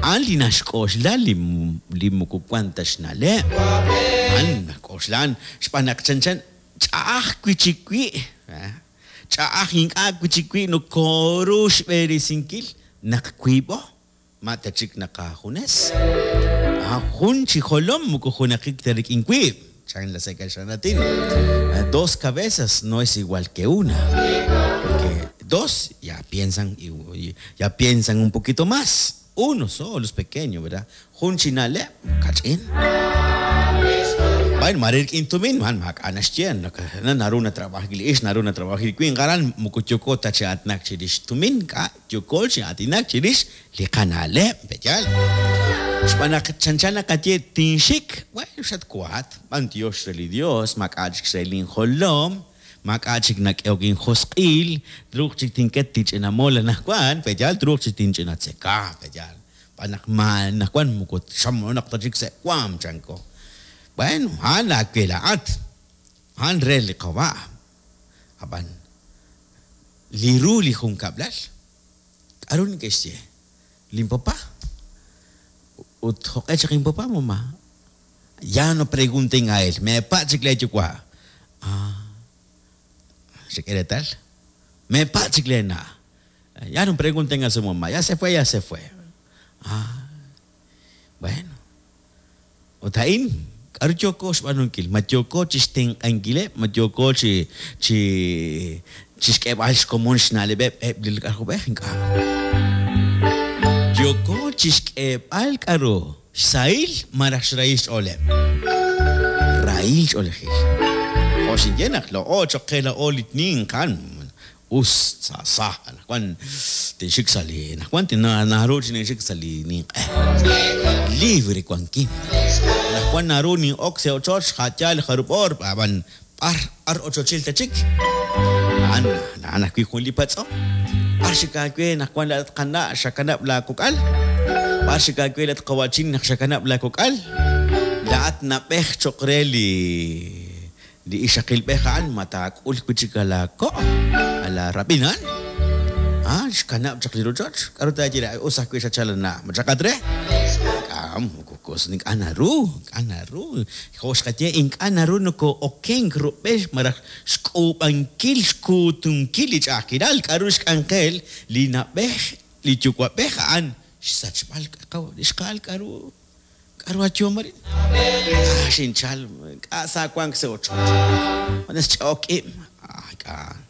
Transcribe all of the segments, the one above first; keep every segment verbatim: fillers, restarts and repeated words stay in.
A'an li naxk'oxla li li moko wank ta xna'leb'. A'an nak'oxlan xb'aan naq chanchan ch'a'aj wi' chik wi', ch'a'aj ink'a' wi' chik wi' nokooru xb'eresinkil naq wiib'o, ma ta chik naq aajunes. Jun chi jolom moko junaqik ta rik'in wiib', chan la sa' kaxlan aatin. Dos cabezas no es igual que una, porque dos ya piensan ya piensan un poquito más. Uno solo es pequeño, ¿verdad? Jun chi na'leb', kach'in. Bueno, mare rik'in tumin, man maak'a' naxye, naru natrabajik li ixq, naru natrabajik li winq, aran moko yooko ta chi aatinak chirix tumin, k'a yooko chi aatinak chirix li qana'leb', pe'yaal. Xb'aan naq chanchan naqaye tinxik, bueno, xatwaat, b'antiox re li Dios, maak'a' chik xrahil injolom, maak'a' chik nak'ehok injosq'il, truuq chik tinket tinch'ina mol anaqwan, pe'yaal, truuq chik tinch'ina tzeka, pe'yaal. Xb'aan naq ma anaqwan moko xamonaq ta chik sa' waam, chanko. Bueno, a'an aawe laa'at, a'an re li qawa'. Ab'an li ru li junkab'lal, k'aru neke'xye? Linpapá. Ut jo'q'e chaq inpapá, mamá? Ya no pregunten a él, meepatz' chik leeyuwa'. Ah, xek'e reetal? Meepatz' chik leena'. Ya no pregunten a su mamá, ya se fue, ya se fue. Ah, bueno. Ut a'in, k'aru yooko xb'aanunkil? Ma yooko chi xtenq'ankileb', ma yooko chi chi chi xk'eeb'al xkomon xna'leb'eb' eb' li k'ajob'ej? Ink'a'. Yooko chi xk'eeb'al k'aru xsahil malaj xrahil xch'ooleb'. Rahil ch'oolejil. Jo' xinye naq laa'o cho'q qe laa'o li ninq a'an us sa sa anaqwan tinxik sa' li anaqwan naru chi ninxik sa' li ninq'e. Libre wankin. Anaqwan naru nin'ok sa' ochoch ja'yaal jarub' oor ab'an b'ar b'ar ochochil ta chik. A'an a'an ajwi' jun li patz'om. B'ar xik aawe anaqwan laa'at qana' xakanab' laakok'al? B'ar xik aawe laa'at qawa'chin naq xakanab' laakok'al? Laa'at nab'ej cho'q re li li ixaqilb'ej a'an ma taak'ul wi' chik alaako' alaarab'in a'an. Ah, xkanab' chaq li rochoch. K'aru taaye re? Us ajwi' xachal ana'. Ma chaqat re? Ink'a' moko ink'a' naru, ink'a' naru. Jo' xqaye ink'a' naru nokoo'okenk rub'el malaj xk'uub'ankil xkuutunkil li ch'a'ajkilal. K'aru xk'anjel li na'b'ej, li yuwa'b'ej a'an xsachb'al li xqa'al k'aru k'aru ayom arin. Ah, xinchal ink'a' sa wank sa' ochoch. Junes ch'a'ok ib'. Ah, ink'a'.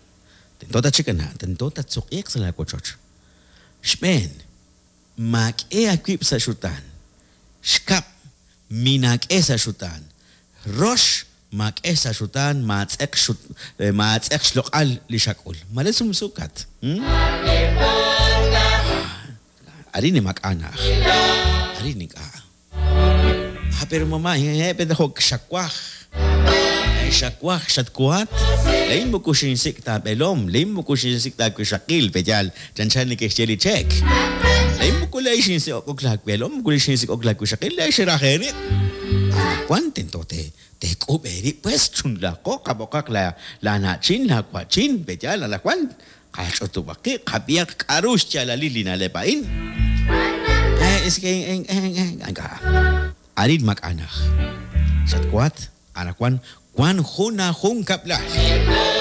Tento ta chik ana', tento tatsuq'iiq sa' laawochoch. Xb'een, maak'e aawib' sa' xutaan. Xkab', minaak'e sa' xutaan. Rox, maak'e sa' xutaan, maatz'eq xut maatz'eq xloq'al li xak'ul. Mare sumsukat. Hmm? Arin maak'a' na'aj. Arin ink'a'. Ah, pero mamá, eh, pero jo' xawaj. Xawaj, xatwaat. Lain moko xinsik' taab'elom, lain moko xinsik' taawixaqil, pe'yaal chanchan neke'xye li cheek. Lain moko lay xinsik'ok laawelom, moko lay xinsik'ok laawixaqil, lay xeraj eerib'. Anaqwan tento te teek'ub' eerib' pues chunlaaqo qab'oqaq la laana'chin, laawa'chin, pe'yaal anaqwan qach'utub'aq qib', qab'ihaq k'aru xyaalalil li na'leb' a'in. Eh, es que ink'a'. Arin maak'a' na'aj. Xatwaat, anaqwan wan jun ajunkab'lal.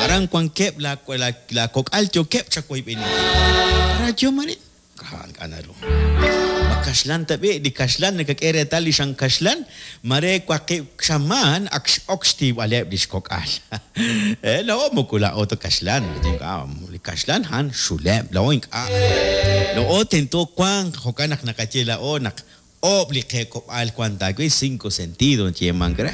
Aran wankeb' la laakok'al yookeb' chawoyb'eninkil. K'aru ayom arin? Ink'a' ink'a' naru. Ma kaxlan ta b'i', li kaxlan nakak'e reetal li xan kaxlan, mare waqib' xamaan ak x'ok xtiib'aleb' li xkok'al. Eh, laa'o moko laa'o ta kaxlan, ink'a' li kaxlan a'an xuleb', laa'o ink'a'. Laa'o tento wanq, jo'kan naq naqaye laa'o naq oob' li qeek'ob'aal wan taawi' cinco sentido nayeemank re.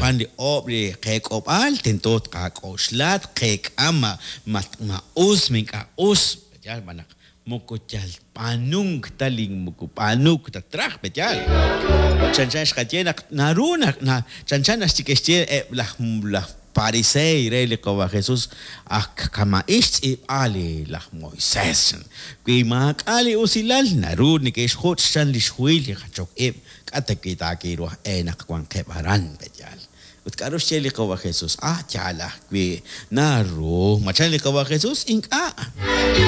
Wan li oob' li qeek'ob'aal tento tqak'oxla, tqeek'a ma ma ma us, ma ink'a' us, pe'yaal b'an naq moko yal b'aanunk ta li moko b'aanuk ta traj, pe'yaal. Chanchan xqaye naq naru naq na chanchan naxye eb' laj laj pariseey re li qawa' Jesús ak kama'ix xtz'iib'a li laj Moisés. Wi maak'a' li usilal naru neke'xjuch' chan li xhuhil li jachok ib' k'a' ta wi' taakiru aj e naq wanqeb' aran, pe'yaal. Ut k'aru xye li qawa' Jesús? Ah, yaal ajwi' naru. Ma chan li qawa' Jesús? Ink'a'.